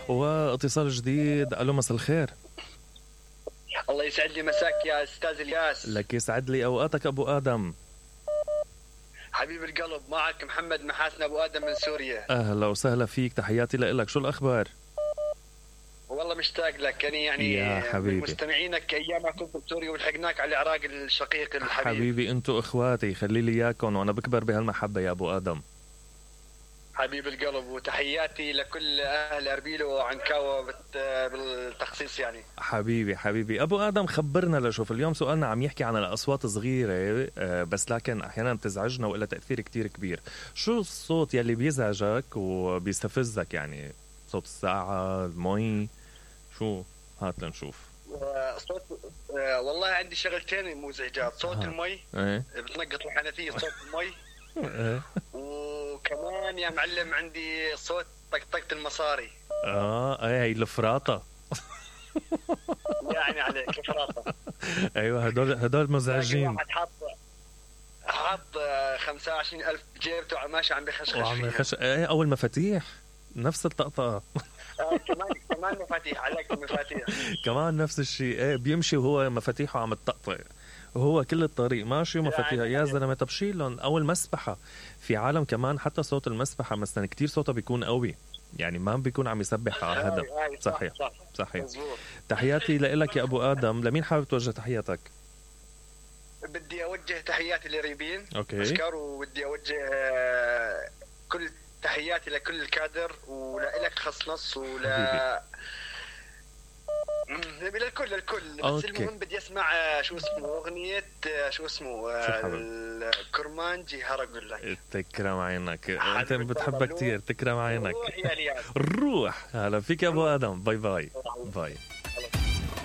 واتصال جديد. الو مساء الخير. الله يسعد لي مساك يا استاذ الياس. لك يسعد لي اوقاتك ابو ادم. حبيب القلب، معك محمد محاسن ابو ادم من سوريا. اهلا وسهلا فيك، تحياتي لك. شو الاخبار؟ والله مشتاق لك يعني يا حبيبي، مستمعينك ايام ما كنت بسوريا ولحقناك على العراق الشقيق الحبيب. حبيبي انتو اخواتي، خلي لي اياكم وانا بكبر بهالمحبه يا ابو ادم. حبيب القلب، وتحياتي لكل اهل اربيل وعنكاوه بالتخصيص يعني. حبيبي ابو ادم، خبرنا لشوف اليوم سؤالنا عم يحكي عن الاصوات صغيره بس لكن احيانا بتزعجنا وإلها تاثير كتير كبير. شو الصوت يلي بيزعجك وبيستفزك؟ يعني صوت الساعه، المي، شو؟ هات لنشوف. صوت والله عندي شغلتين مزعجات. صوت المي بتنقط الحنفيه، صوت المي وكمان يا معلم عندي صوت طقطقة المصاري. هي الفراطه يعني عليك الفراطه. ايوه هدول مزعجين. واحد حاط 25,000 بجيبته ماشي عم بخشخش فيها. او المفاتيح نفس الطقطقه. كمان مفاتيح عليك، المفاتيح كمان نفس الشيء. بيمشي وهو مفاتيحه عم تطقطق وهو كل الطريق ماشي ومفاتيح. يا زلمه طب شيلهم. او المسبحه، في عالم كمان حتى صوت المسبحه مثلا كتير صوتها بيكون قوي، يعني ما بيكون عم يسبح على هدف. صحيح. تحياتي لك يا ابو ادم. لمين حابب توجه تحياتك؟ بدي اوجه تحياتي لريبين اوكي، وبدي اوجه كل تحياتي لكل الكادر ولك خص نص للكل. بس المهم بدي اسمع شو اسمه اغنيه الكرمانجي هرقول لك. تكرم عينك، انت بتحبها كتير. تكرم عينك. الروح. هلا فيك يا ابو ادم. باي.